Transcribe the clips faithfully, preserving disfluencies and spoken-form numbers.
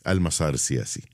المسار السياسي؟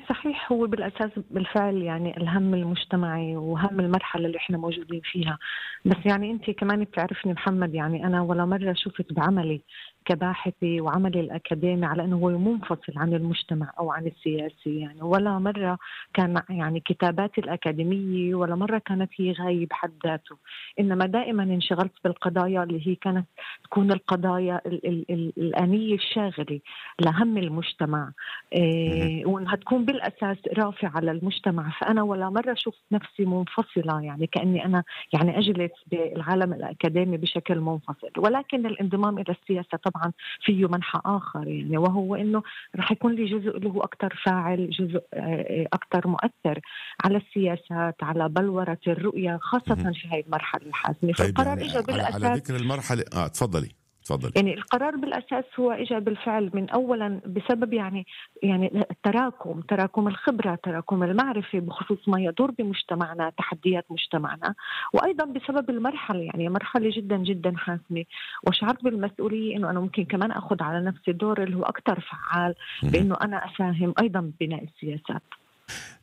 صحيح، هو بالأساس بالفعل يعني الهم المجتمعي وهم المرحلة اللي احنا موجودين فيها. بس يعني انت كمان بتعرفني محمد، يعني انا ولا مرة شفت بعملي كباحثي وعملي الأكاديمي على أنه هو منفصل عن المجتمع أو عن السياسي. يعني ولا مرة كان يعني كتاباتي الأكاديمية ولا مرة كانت هي غاية بحد ذاته، إنما دائما انشغلت بالقضايا اللي هي كانت تكون القضايا ال- ال- ال- الآنية الشاغلة لهم المجتمع، مهم. إيه، وإنها تكون بالأساس رافعة على المجتمع. فأنا ولا مرة شفت نفسي منفصلة، يعني كأني أنا يعني أجلس بالعالم الأكاديمي بشكل منفصل. ولكن الانضمام إلى السياسة طبعا فيه منحى آخر، يعني وهو إنه رح يكون لي جزء اللي هو أكتر فاعل، جزء آه، أكتر مؤثر على السياسات، على بلورة الرؤية، خاصة مهم. في هاي المرحلة الحاسمة. طيب فالقرار يعني إجا على على بالأساس، ذكر المرحلة، اه تفضلي تفضلي. يعني القرار بالأساس هو إجا بالفعل من أولا بسبب يعني يعني التراكم تراكم الخبرة، تراكم المعرفة بخصوص ما يدور بمجتمعنا، تحديات مجتمعنا، وأيضا بسبب المرحلة، يعني مرحلة جدا جدا حاسمة. وشعرت بالمسؤولية إنه أنا ممكن كمان أخذ على نفسي دور اللي هو أكتر فعال، مهم. بإنه أنا أساهم أيضا ببناء السياسات.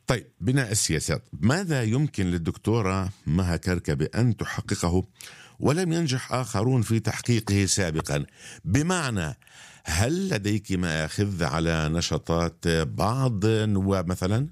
طيب بناء السياسات، ماذا يمكن للدكتورة مها كركبة أن تحققه ولم ينجح آخرون في تحقيقه سابقا؟ بمعنى، هل لديك مآخذ على نشاطات بعض النواب مثلا؟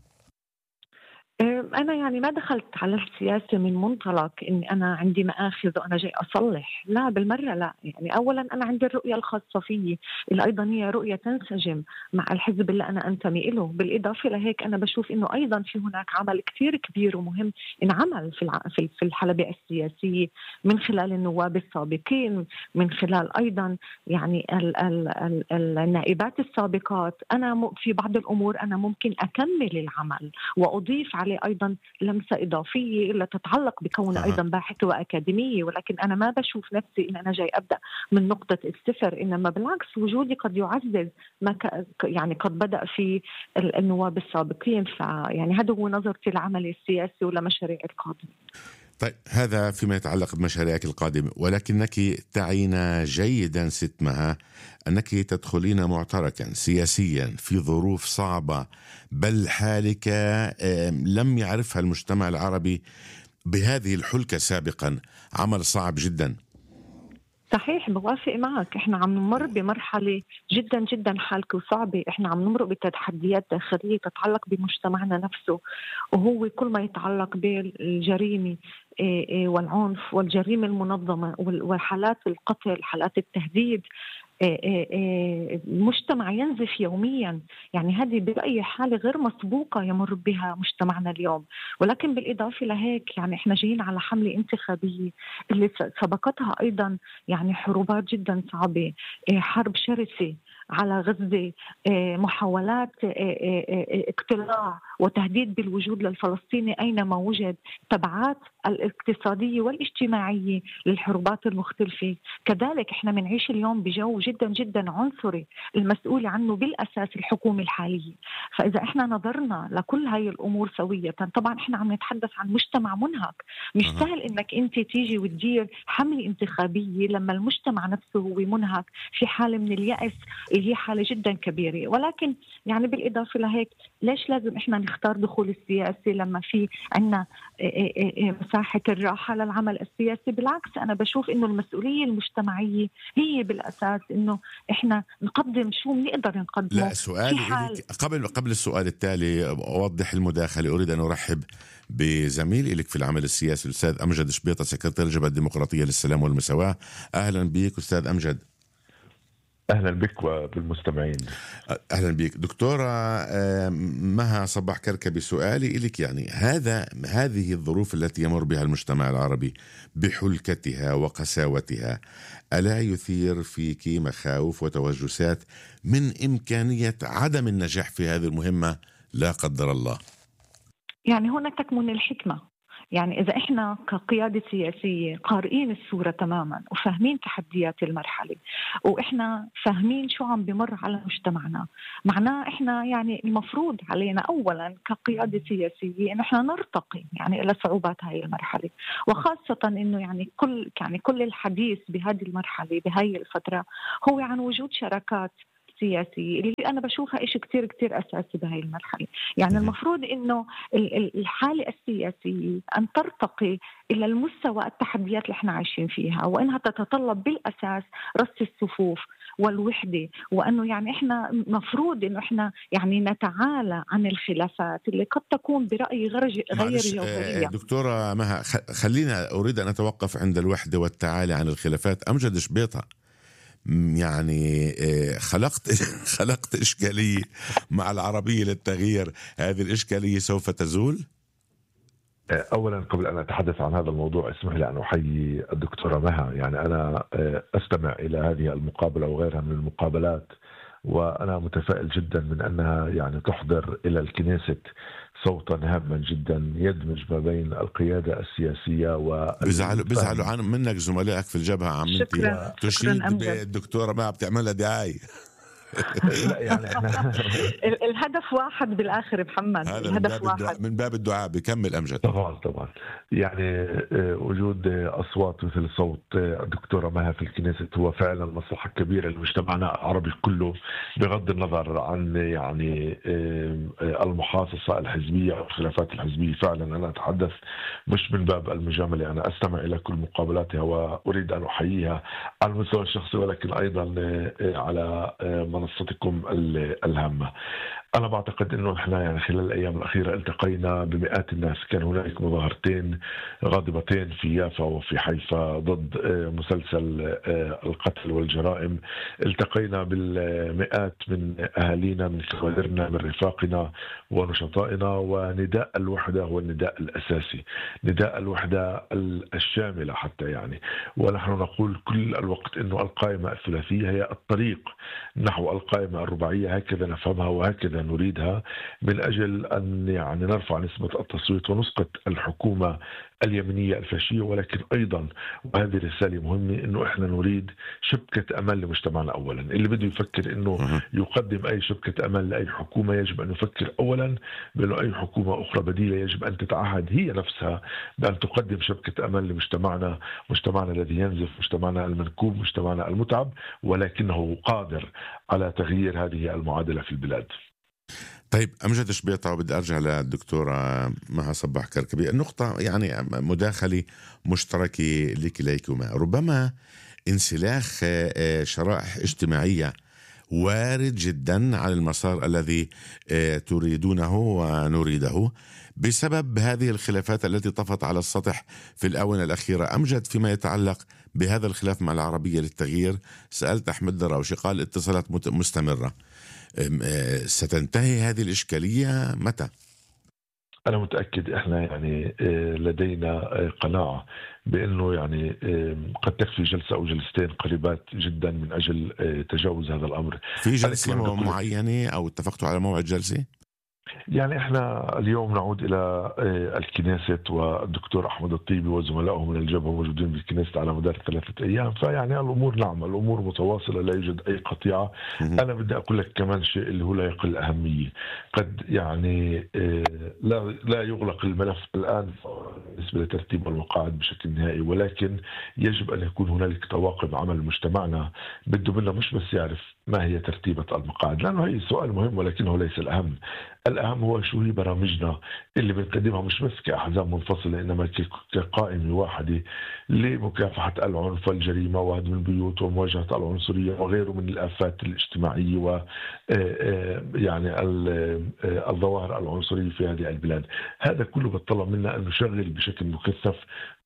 أنا يعني ما دخلت على السياسة من منطلق إني أنا عندي مآخذ وأنا جاي أصلح، لا بالمرة لا. يعني أولا أنا عندي الرؤية الخاصة فيي اللي أيضا هي رؤية تنسجم مع الحزب اللي أنا أنتمي إله. بالإضافة لهيك أنا بشوف إنه أيضا في هناك عمل كتير كبير ومهم انعمل في الع- في في الحلبة السياسية من خلال النواب السابقين، من خلال أيضا يعني ال ال ال النائبات السابقات. أنا م- في بعض الأمور أنا ممكن أكمل العمل وأضيف عليه أيضا لمسة إضافية اللي تتعلق بكون أها. أيضا باحثة وأكاديمية. ولكن أنا ما بشوف نفسي إن أنا جاي أبدأ من نقطة الصفر، إنما بالعكس وجودي قد يعزز ما ك... يعني قد بدأ في ال- النواب السابقين. فيعني هذا هو نظرتي للعمل السياسي ولمشاريع القادمة. طيب هذا فيما يتعلق بمشاريعك القادمة، ولكنك تعين جيدا ست مها أنك تدخلين معتركا سياسيا في ظروف صعبة، بل حالك آم، لم يعرفها المجتمع العربي بهذه الحلكة سابقا، عمل صعب جدا. صحيح، بوافق معك. احنا عم نمر بمرحلة جدا جدا حالكة وصعبة. احنا عم نمر بتحديات داخلية تتعلق بمجتمعنا نفسه، وهو كل ما يتعلق بالجريمة إيه إيه والعنف والجريمة المنظمة وال- وحالات القتل، حالات التهديد. إيه إيه إيه المجتمع ينزف يوميا. يعني هذه بأي حالة غير مسبوقة يمر بها مجتمعنا اليوم. ولكن بالإضافة لهيك يعني إحنا جايين على حملة انتخابية اللي س- سبقتها أيضا يعني حروبات جدا صعبة، إيه حرب شرسة على غزة، إيه محاولات إيه إيه إيه اقتلاع وتهديد بالوجود للفلسطيني أينما وجد، تبعات الاقتصادية والاجتماعية للحروبات المختلفة. كذلك احنا بنعيش اليوم بجو جدا جدا عنصري المسؤول عنه بالأساس الحكومة الحالية. فإذا احنا نظرنا لكل هاي الأمور سوية، طبعا احنا عم نتحدث عن مجتمع منهك. مش أها. سهل انك انت تيجي وتدير حملة انتخابية لما المجتمع نفسه هو منهك، في حالة من اليأس اللي هي حالة جدا كبيرة. ولكن يعني بالإضافة لهيك ليش لازم احنا نختار دخول السياسي لما في عنا مساحة الراحة للعمل السياسي؟ بالعكس أنا بشوف إنه المسؤولية المجتمعية هي بالأساس إنه إحنا نقدم شو بنقدر نقدمه لا، في سؤالي حال. إليك قبل قبل السؤال التالي أوضح المداخلة. أريد أن أرحب بزميل إليك في العمل السياسي الأستاذ أمجد شبيطة، سكرتير الجبهة الديمقراطية للسلام والمساواة. أهلا بك أستاذ أمجد. أهلا بك وبالمستمعين. أهلا بك دكتورة آه، مها صباح كركبي. سؤالي إليك، يعني هذا هذه الظروف التي يمر بها المجتمع العربي بحلكتها وقساوتها، ألا يثير فيك مخاوف وتوجسات من إمكانية عدم النجاح في هذه المهمة لا قدر الله؟ يعني هنا تكمن الحكمة. يعني إذا إحنا كقيادة سياسية قارئين الصورة تماما وفاهمين تحديات المرحلة، وإحنا فاهمين شو عم بمر على مجتمعنا، معناه إحنا يعني المفروض علينا أولا كقيادة سياسية إن إحنا نرتقي يعني إلى صعوبات هاي المرحلة. وخاصة إنه يعني كل يعني كل الحديث بهذه المرحلة بهاي الفترة هو عن وجود شراكات السياسية اللي أنا بشوفها إشي كتير كتير أساسي بهاي المرحلة. يعني المفروض إنه الحالة السياسية أن ترتقي إلى المستوى التحديات اللي احنا عايشين فيها، وإنها تتطلب بالأساس رص الصفوف والوحدة، وأنه يعني إحنا مفروض إنه إحنا يعني نتعالى عن الخلافات اللي قد تكون برأيي غير غير جوهرية. دكتورة مها، خلينا أريد أن أتوقف عند الوحدة والتعالي عن الخلافات. أمجد شبيطة، يعني خلقت خلقت إشكالية مع العربية للتغيير، هذه الإشكالية سوف تزول؟ أولا قبل أن أتحدث عن هذا الموضوع اسمح لي أن أحيي الدكتورة مها. يعني أنا أستمع إلى هذه المقابلة وغيرها من المقابلات، وأنا متفائل جدا من أنها يعني تحضر إلى الكنيسة صوتا هاما جدا يدمج ما بين القيادة السياسية و بزعلوا بزعلوا عن منك زملائك في الجبهة عمتي تشيد بالدكتورة ما بتعملها دعاية. لا يعني احنا الهدف واحد بالاخر محمد، الهدف من واحد من باب الدعاء. بكمل أمجد. طبعا طبعا يعني وجود اصوات مثل صوت الدكتوره مها في الكنيسة هو فعلا مصلحه كبيره لمجتمعنا العربي كله، بغض النظر عن يعني المحاصصه الحزبيه او الخلافات الحزبيه. فعلا انا اتحدث مش من باب المجامله، انا استمع الى كل مقابلاتها واريد ان احييها على المستوى الشخصي ولكن ايضا على منصتكم الهامة. أنا بعتقد أنه إحنا يعني خلال الأيام الأخيرة التقينا بمئات الناس. كان هناك مظاهرتين غاضبتين في يافا وفي حيفا ضد مسلسل القتل والجرائم. التقينا بالمئات من أهالينا، من كوادرنا، من رفاقنا ونشطائنا، ونداء الوحدة هو النداء الأساسي، نداء الوحدة الشاملة حتى يعني. ونحن نقول كل الوقت أنه القائمة الثلاثية هي الطريق نحو القائمة الرباعية، هكذا نفهمها وهكذا نريدها، من أجل أن يعني نرفع نسبة التصويت ونسقط الحكومة اليمنية الفاشية. ولكن أيضا وهذه رسالة مهمة أنه إحنا نريد شبكة أمان لمجتمعنا. أولا اللي بده يفكر أنه يقدم أي شبكة أمان لأي حكومة يجب أن يفكر أولا بأنه أي حكومة أخرى بديلة يجب أن تتعهد هي نفسها بأن تقدم شبكة أمان لمجتمعنا، مجتمعنا الذي ينزف، مجتمعنا المنكوب، مجتمعنا المتعب، ولكنه قادر على تغيير هذه المعادلة في البلاد. طيب أمجد شبيطة، وبدي أرجع للدكتورة مها صباح كركبي. النقطة يعني مداخلة مشتركة لكليكما. ربما انسلاخ شرائح اجتماعية وارد جدا على المسار الذي تريدونه ونريده بسبب هذه الخلافات التي طفت على السطح في الآونة الأخيرة. أمجد، فيما يتعلق بهذا الخلاف مع العربية للتغيير، سألت أحمد دراوشي قال اتصالات مستمرة. ستنتهي هذه الإشكالية متى؟ أنا متأكد إحنا يعني لدينا قناعة بأنه يعني قد تكفي جلسة أو جلستين قريبات جدا من أجل تجاوز هذا الأمر. في جلسة معينة أو اتفقتوا على موعد جلسة؟ يعني احنا اليوم نعود الى الكنيسة، والدكتور احمد الطيبي وزملائه من الجبهة موجودين بالكنيسة على مدار ثلاثة ايام. فيعني الامور نعم الامور متواصلة، لا يوجد اي قطيعة. انا بدي اقول لك كمان شيء اللي هو لا يقل اهمية. قد يعني لا لا يغلق الملف الان بالنسبة لترتيب المقاعد بشكل نهائي، ولكن يجب ان يكون هنالك طواقم عمل مجتمعنا بده منا مش بس يعرف ما هي ترتيبة المقاعد، لانه هي سؤال مهم ولكنه ليس الاهم. الأهم هو شو هي برامجنا اللي بنقدمها مش بس كأحزاب منفصلة إنما كقائمة واحدة لمكافحة العنف والجريمة وهدم البيوت ومواجهة العنصرية وغيره من الآفات الاجتماعية و يعني الظواهر العنصرية في هذه البلاد. هذا كله بتطلب منا أن نشغل بشكل مكثف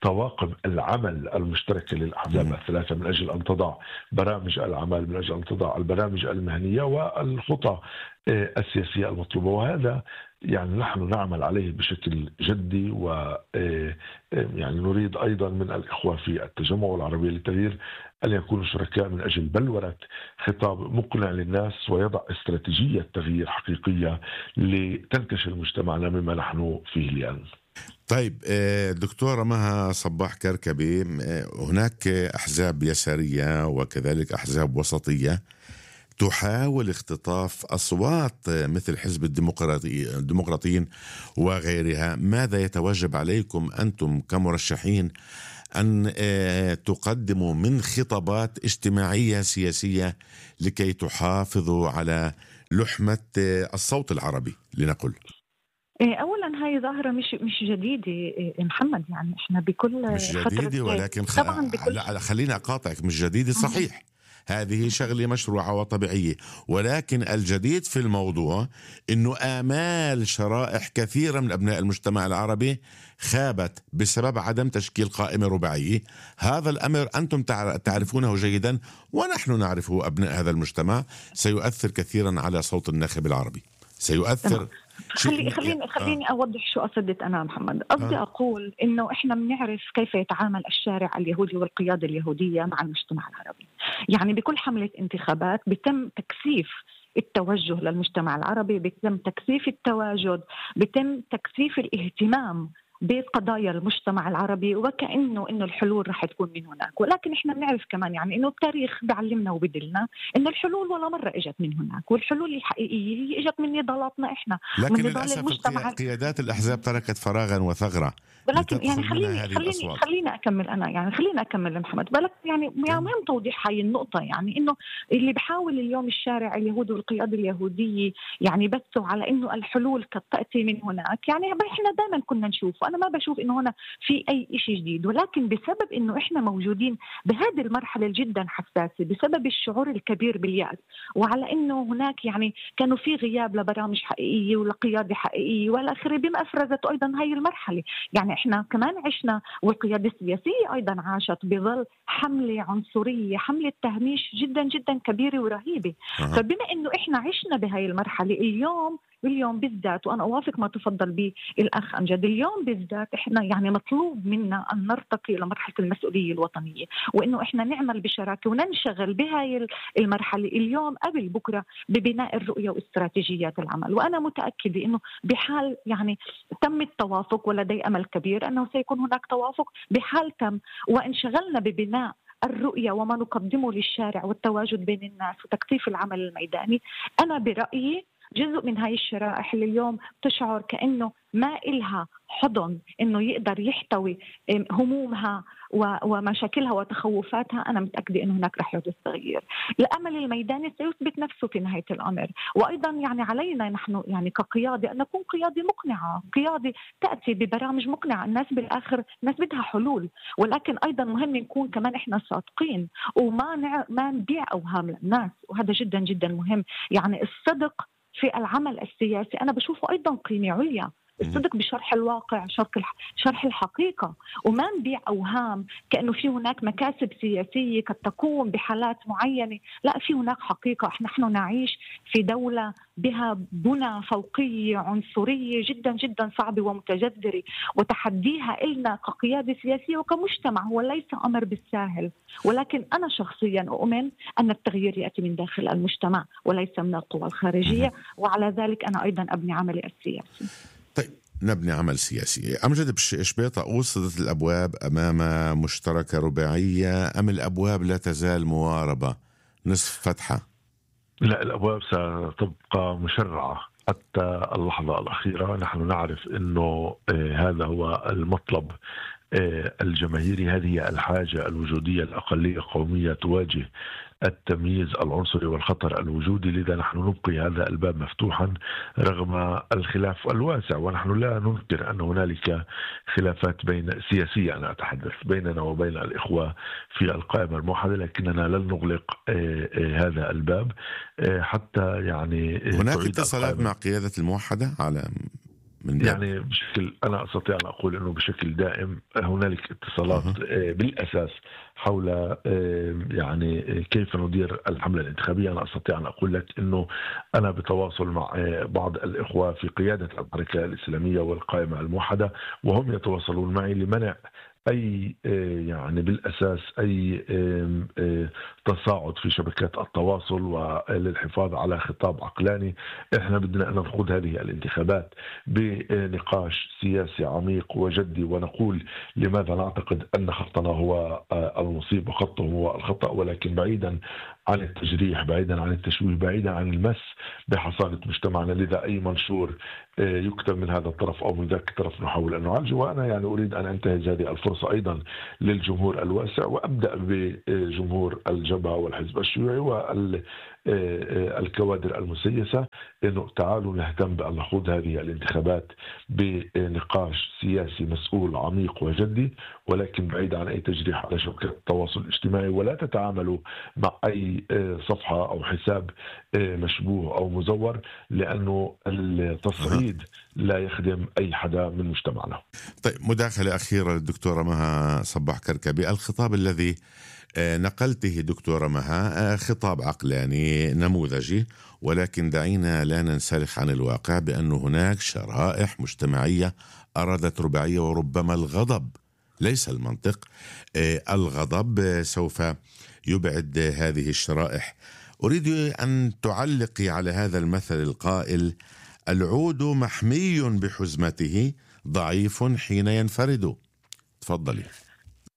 طواقم العمل المشتركة للأحزاب الثلاثة من أجل أن تضع برامج العمل، من أجل أن تضع البرامج المهنية والخطة السياسية المطلوبة. وهذا يعني نحن نعمل عليه بشكل جدي، و يعني نريد أيضا من الإخوة في التجمع والعربية للتغيير أن يكونوا شركاء من أجل بلورة خطاب مقنع للناس ويضع استراتيجية تغيير حقيقية لتنتشل مجتمعنا مما نحن فيه اليوم. طيب دكتورة مها صباح كركبي، هناك أحزاب يسارية وكذلك أحزاب وسطية تحاول اختطاف أصوات مثل حزب الديمقراطي الديمقراطيين وغيرها. ماذا يتوجب عليكم أنتم كمرشحين أن تقدموا من خطابات اجتماعية سياسية لكي تحافظوا على لحمة الصوت العربي لنقل؟ اولا هاي ظاهره مش مش جديده محمد، يعني احنا بكل مش جديده ولكن خ... طبعا بكل... لا خليني اقاطعك، مش جديده صحيح، هذه شغله مشروعه وطبيعيه، ولكن الجديد في الموضوع انه آمال شرائح كثيره من ابناء المجتمع العربي خابت بسبب عدم تشكيل قائمه رباعيه. هذا الامر انتم تعرفونه جيدا ونحن نعرفه ابناء هذا المجتمع، سيؤثر كثيرا على صوت الناخب العربي، سيؤثر. خلي خليني خليني آه. اوضح شو قصدت انا محمد. قصدي آه. اقول انه احنا بنعرف كيف يتعامل الشارع اليهودي والقياده اليهوديه مع المجتمع العربي. يعني بكل حمله انتخابات بيتم تكثيف التوجه للمجتمع العربي، بيتم تكثيف التواجد، بيتم تكثيف الاهتمام بقضايا المجتمع العربي، وكأنه إنه الحلول رح تكون من هناك. ولكن إحنا بنعرف كمان يعني إنه التاريخ بيعلمنا وبدلنا إنه الحلول ولا مرة إجت من هناك، والحلول الحقيقية هي إجت من نضالاتنا إحنا. لكن للأسف المجتمع... قيادات الأحزاب تركت فراغا وثغرة. ولكن يعني خليني خليني خليني أكمل أنا يعني خليني أكمل محمد بالك يعني مهم توضيح هاي النقطة. يعني إنه اللي بحاول اليوم الشارع اليهودي والقيادة اليهودية يعني بثوا على إنه الحلول قد تأتي من هناك، يعني إحنا دائما كنا نشوف، أنا ما بشوف إنه هنا في أي شيء جديد، ولكن بسبب إنه إحنا موجودين بهذه المرحلة جدا حساسة بسبب الشعور الكبير باليأس، وعلى إنه هناك يعني كانوا في غياب لبرامج حقيقية ولقيادة حقيقية والآخر، بما أفرزت أيضا هاي المرحلة. يعني إحنا كمان عشنا والقيادة السياسية أيضا عاشت بظل حملة عنصرية، حملة تهميش جدا جدا كبيرة ورهيبة. أه. فبما إنه إحنا عشنا بهاي المرحلة اليوم اليوم بالذات، وأنا أوافق ما تفضل به الأخ أمجد، اليوم بالذات إحنا يعني مطلوب منا أن نرتقي لمرحلة المسؤولية الوطنية، وإنه إحنا نعمل بشراكة وننشغل بهاي المرحلة اليوم قبل بكرة ببناء الرؤية واستراتيجيات العمل. وأنا متأكدة إنه بحال يعني تم التوافق، ولدي أمل كبير أنه سيكون هناك توافق، بحال تم وانشغلنا ببناء الرؤية وما نقدمه للشارع والتواجد بين الناس وتكثيف العمل الميداني، أنا برأيي جزء من هاي الشرائح اللي اليوم تشعر كأنه ما إلها حضن إنه يقدر يحتوي همومها ومشاكلها وتخوفاتها، أنا متأكدة إنه هناك رح يحدث تغيير. الأمل الميداني سيثبت نفسه في نهاية الأمر، وأيضا يعني علينا نحن يعني كقيادة أن نكون قيادة مقنعة، قيادة تأتي ببرامج مقنعة. الناس بالآخر الناس بدها حلول، ولكن أيضا مهم نكون كمان إحنا صادقين وما نع... ما نبيع أوهام للناس، وهذا جدا جدا مهم. يعني الصدق في العمل السياسي أنا بشوفه أيضا قيمة عليا، الصدق بشرح الواقع، شرح الحقيقة، وما نبيع أوهام كأنه في هناك مكاسب سياسية قد تكون بحالات معينة. لا، في هناك حقيقة. نحن نعيش في دولة بها بنى فوقية عنصرية جدا جدا صعبة ومتجذرة، وتحديها إلنا كقيادة سياسية وكمجتمع هو ليس أمر بالساهل. ولكن أنا شخصيا أؤمن أن التغيير يأتي من داخل المجتمع وليس من القوى الخارجية، وعلى ذلك أنا أيضا أبني عملي السياسي. طيب، نبني عمل سياسي. أمجد بشبيطة، وصلت الأبواب أمام مشتركة رباعية أم الأبواب لا تزال مواربة نصف فتحة؟ لا، الأبواب ستبقى مشرعة حتى اللحظة الأخيرة. نحن نعرف أنه هذا هو المطلب الجماهيري، هذه الحاجة الوجودية. الأقلية قومية تواجه التمييز العنصري والخطر الوجودي، لذا نحن نبقي هذا الباب مفتوحا رغم الخلاف الواسع. ونحن لا ننكر أن هنالك خلافات بين سياسية، أنا أتحدث بيننا وبين الإخوة في القائمة الموحدة، لكننا لن نغلق هذا الباب حتى يعني هناك اتصالات مع قيادة الموحدة على من يعني بشكل، أنا أستطيع أن أقول أنه بشكل دائم هنالك اتصالات أه. بالأساس حول يعني كيف ندير الحملة الانتخابية. أنا أستطيع أن أقول لك أنه أنا بتواصل مع بعض الإخوة في قيادة الحركة الإسلامية والقائمة الموحدة، وهم يتواصلون معي لمنع أي يعني بالأساس أي تصاعد في شبكات التواصل وللحفاظ على خطاب عقلاني. إحنا بدنا أن نخوض هذه الانتخابات بنقاش سياسي عميق وجدي، ونقول لماذا نعتقد أن خطنا هو المصيب وخطهم هو الخطأ، ولكن بعيدا عن التجريح، بعيدا عن التشويه، بعيدا عن المس بحصانة مجتمعنا. لذا أي منشور يكتب من هذا الطرف أو من ذاك الطرف نحاول أن نعالجه. وأنا يعني أريد أن أنتهز هذه الفرصة أيضا للجمهور الواسع، وأبدأ بجمهور الجبهة والحزب الشيوعي والكوادر المسيسة، إنه تعالوا نهتم بأن نخوض هذه الانتخابات بنقاش سياسي مسؤول عميق وجدي، ولكن بعيد عن أي تجريح على شبكة التواصل الاجتماعي. ولا تتعاملوا مع أي صفحة أو حساب مشبوه أو مزور، لأنه التصعيد لا يخدم أي حدا من مجتمعنا. طيب، مداخلة أخيرة للدكتورة مها صباح كركبي. الخطاب الذي نقلته دكتورة مها خطاب عقلاني نموذجي، ولكن دعينا لا ننسلخ عن الواقع بأن هناك شرائح مجتمعية أرادت رباعية، وربما الغضب ليس المنطق. الغضب سوف يبعد هذه الشرائح. أريد أن تعلقي على هذا المثل القائل: العود محمي بحزمته، ضعيف حين ينفرد. تفضلي.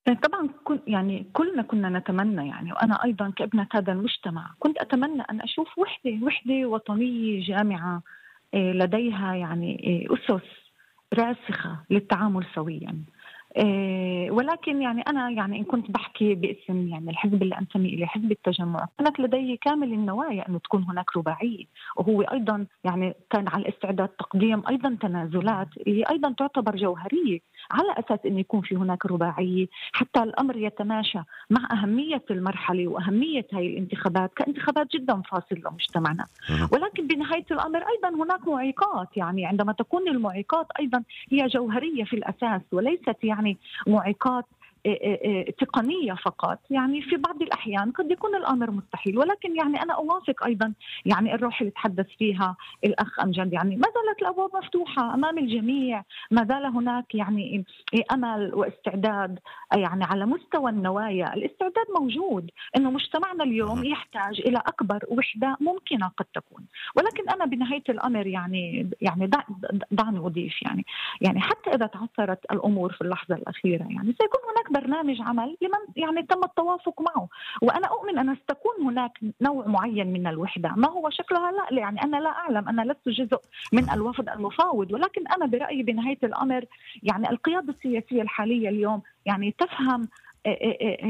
طبعا يعني كلنا كنا نتمنى، يعني وأنا أيضا كابنة هذا المجتمع كنت أتمنى أن أشوف وحدة وحدة وطنية جامعة لديها يعني أسس راسخة للتعامل سويا. ولكن يعني أنا يعني إن كنت بحكي باسم يعني الحزب اللي أنتمي إليه، حزب التجمع، كانت لدي كامل النوايا أنه تكون هناك رباعية، وهو أيضا يعني كان على الاستعداد تقديم أيضا تنازلات اللي أيضا تعتبر جوهرية على أساس أن يكون في هناك رباعية، حتى الأمر يتماشى مع أهمية المرحلة وأهمية هاي الانتخابات كانتخابات جدا فاصلة لمجتمعنا. ولكن بنهاية الأمر أيضا هناك معيقات، يعني عندما تكون المعيقات أيضا هي جوهرية في الأساس وليست يعني يعني معيقات تقنية فقط. يعني في بعض الأحيان قد يكون الأمر مستحيل، ولكن يعني أنا أوافق أيضا يعني الروح اللي تحدث فيها الأخ أمجد، يعني ما زالت الأبواب مفتوحة أمام الجميع، ما زال هناك يعني أمل واستعداد، يعني على مستوى النوايا الاستعداد موجود، إنه مجتمعنا اليوم يحتاج إلى أكبر وحدة ممكنة قد تكون. ولكن أنا بنهاية الأمر يعني يعني دعني أضيف يعني يعني حتى إذا تعثرت الأمور في اللحظة الأخيرة، يعني سيكون هناك برنامج عمل لمن يعني تم التوافق معه، وأنا أؤمن أن ستكون هناك نوع معين من الوحدة. ما هو شكلها لا يعني أنا لا أعلم، أنا لست جزء من الوفد المفاوض، ولكن أنا برأيي بنهاية الأمر يعني القيادة السياسية الحالية اليوم يعني تفهم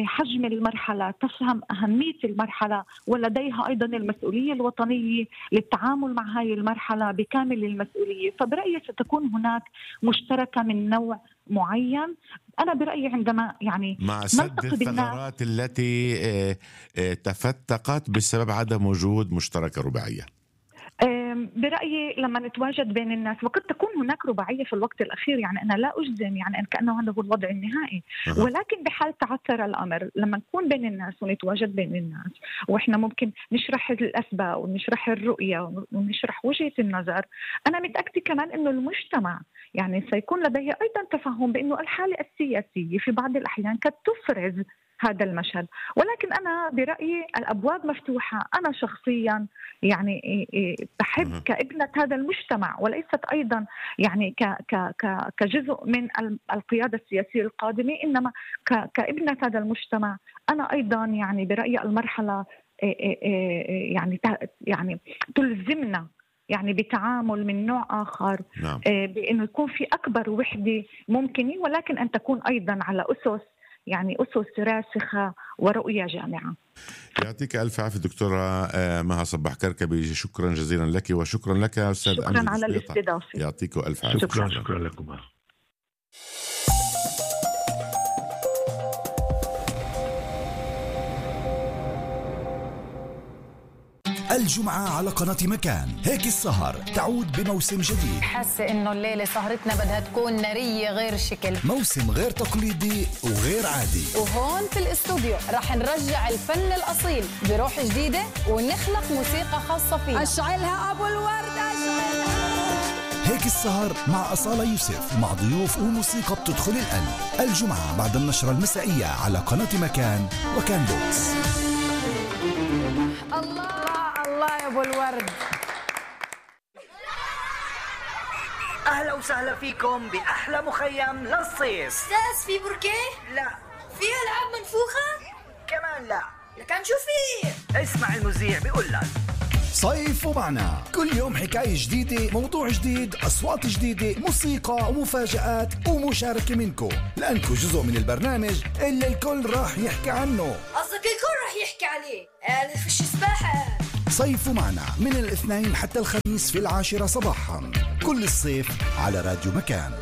حجم المرحلة، تفهم أهمية المرحلة، ولديها أيضا المسؤولية الوطنية للتعامل مع هذه المرحلة بكامل المسؤولية. فبرأيي ستكون هناك مشتركة من نوع معين. أنا برأيي عندما يعني مع سد الثغرات التي تفتقت بسبب عدم وجود مشتركة رباعية، برأيي لما نتواجد بين الناس، وقد تكون هناك رباعية في الوقت الأخير، يعني أنا لا أجزم يعني أن كأنه هذا هو الوضع النهائي، ولكن بحال تعثر الأمر لما نكون بين الناس ونتواجد بين الناس، وإحنا ممكن نشرح الأسباب ونشرح الرؤية ونشرح وجهة النظر، أنا متأكدة كمان أنه المجتمع يعني سيكون لديه أيضا تفهم بأنه الحالة السياسية في بعض الأحيان قد تفرز هذا المشهد. ولكن أنا برأيي الأبواب مفتوحة. أنا شخصيا يعني بحب كابنة هذا المجتمع، وليست أيضا يعني كجزء من القيادة السياسية القادمة، إنما كابنة هذا المجتمع. أنا أيضا يعني برأيي المرحلة يعني يعني تلزمنا يعني بتعامل من نوع آخر، نعم. بأنه يكون في أكبر وحدة ممكنة، ولكن أن تكون أيضا على أسس يعني أسس راسخة ورؤية جامعة. يعطيك ألف عافية دكتورة مها صباح كركبي، شكرا جزيلا لك، وشكرا لك أستاذ شكرا أمجد على الاستضافة. يعطيك ألف عافية. شكرا شكرا لكم. الجمعة على قناة مكان، هيك السهر تعود بموسم جديد. حاسة إنه الليلة سهرتنا بدها تكون نارية غير شكل، موسم غير تقليدي وغير عادي. وهون في الاستوديو رح نرجع الفن الأصيل بروح جديدة ونخلق موسيقى خاصة فيها. أشعلها أبو الورد، أشعلها. هيك السهر مع أصالة يوسف، مع ضيوف وموسيقى بتدخل القلب. الجمعة بعد النشرة المسائية على قناة مكان وكان بوكس. الله الله يا ابو الورد. اهلا وسهلا فيكم باحلى مخيم للصيف. استاذ في بركيه؟ لا. في العاب منفوخه؟ كمان لا. لكن شو في؟ اسمع المذيع بيقول لك صيفوا معنا كل يوم حكاية جديدة، موضوع جديد، أصوات جديدة، موسيقى ومفاجآت ومشاركة منكم، لأنكم جزء من البرنامج اللي الكل راح يحكي عنه. قصدك الكل راح يحكي عليه؟ قال فيش سباحة. صيفوا معنا من الاثنين حتى الخميس في العاشرة صباحا كل الصيف على راديو مكان.